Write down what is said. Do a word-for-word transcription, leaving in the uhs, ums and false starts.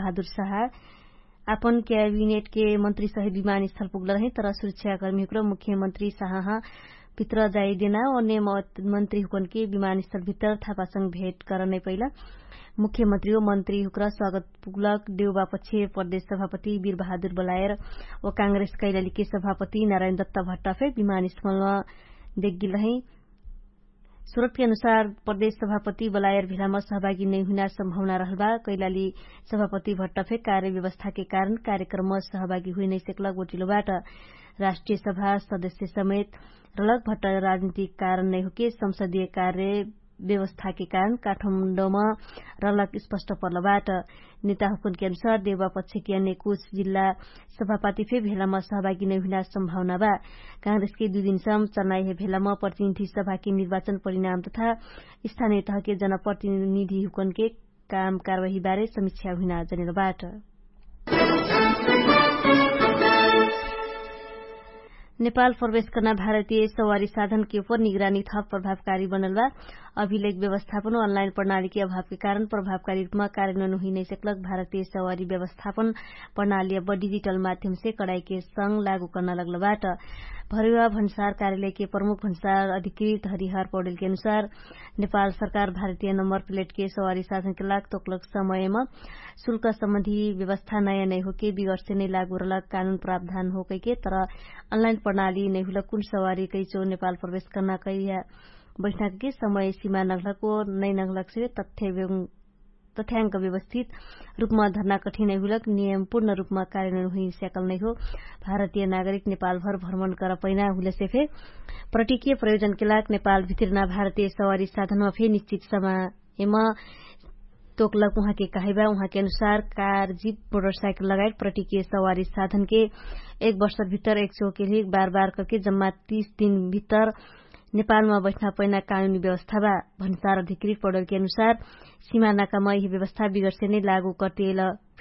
बहादुर साहा आपन क्याबिनेटके मन्त्री सहित विमानस्थल पुग्ल रहे, तर सुरक्षाकर्मीहुक्र मुख्यमन्त्री साहा भित्र जाइदेना ओने मन्त्रीहुकनके विमानस्थल भित्र थापासँग भेट करनै पैला मुख्यमन्त्री ओ मन्त्रीहुक्र स्वागत पुग्लक देउबापक्षे प्रदेश सभापति वीर बहादुर बलायर ओ काङ्ग्रेस कैलालीके सभापति नारायण दत्त भट्टा फे विमानस्थलमा देख्गिल रहे। सुरतके अनुसार प्रदेश सभापति बलायर भेलामा सहभागी नैहुइना सम्भावना रहलबा। कैलाली सभापति भट्टा फे कार्य व्यवस्थाके कारण कार्यक्रममा सहभागी हुइनैसेक्लक बोटिलोबाट। राष्ट्रिय सभा सदस्य समेत रलक भट्टा राजनीतिक कारण नैहुके संसदीय कार्य व्यवस्थाके कारण काठमाडौमा रलक स्पष्ट पर्लबाट। नेताहुकुनके अनुसार देउबापक्षके अन्य कुछ जिल्ला सभापाति फे भेलामा सहभागी नैहुइना सम्भावना बा। काङ्ग्रेसके दुइ दिनसम चनाइहे भेलामा प्रतिनिधि सभाके निर्वाचन परिणाम तथा स्थानीय तहके जनप्रतिनिधिहुकनके काम कारवाहीबारे समीक्षा हुइना जनेलबाट। नेपाल प्रवेश कर्ना भारतीय सवारी साधनके उपर निगरानी थप प्रभावकारी बनलबा। अभिलेख व्यवस्थापन अनलाइन प्रणालीके अभावके कारण प्रभावकारी रूपमा कार्यन्वयन हुइनैसेक्लक भारतीय सवारी व्यवस्थापन प्रणाली अब डिजिटल माध्यमसे कडाइके संग लागू कर्ना लग्लबाट। भरुवा भन्सार कार्यालयके प्रमुख भन्सार अधिकृत हरिहर पौडेलके अनुसार नेपाल सरकार भारतीय नम्बर प्लेटके सवारी साधनके लाग तोक्लक समयमा शुल्क सम्बन्धी व्यवस्था नयाँ नैहोके बिगर्से नै लागू रलक कानुन प्रावधान होकैके तर अनलाइन प्रणाली नैहुलक कुन सवारी कैचो नेपाल प्रवेश कर्ना कैया बैठ्नाके समय सिमा नगलको नै नगलकसे तथ्याङ्क व्यवस्थित रूपमा धर्ना कठिनै हुलक नियमपूर्ण रूपमा कार्यन्वयन हुइस्याकल नैहो। भारतीय नागरिक नेपालभर भ्रमण कर पैना हुलेसे फे प्रतिकिय प्रयोजनके लाग नेपाल भित्रिना भारतीय सवारी साधनमा फे निश्चित समयमा तोकलक उहाँके कहैबा। उहाँके अनुसार कार जिप मोटरसाइकल लगायत प्रतिकिय सवारी साधनके एक वर्ष भित्तर एक चोके लिक बार बार करके जम्मा तीस दिन भित्तर नेपालमा बैठ्ना पैना कानुनी व्यवस्था बा। भन्सार अधिकृत पडलके अनुसार सिमानाकामा यही व्यवस्था बिगर्से नै लागू कर्तियल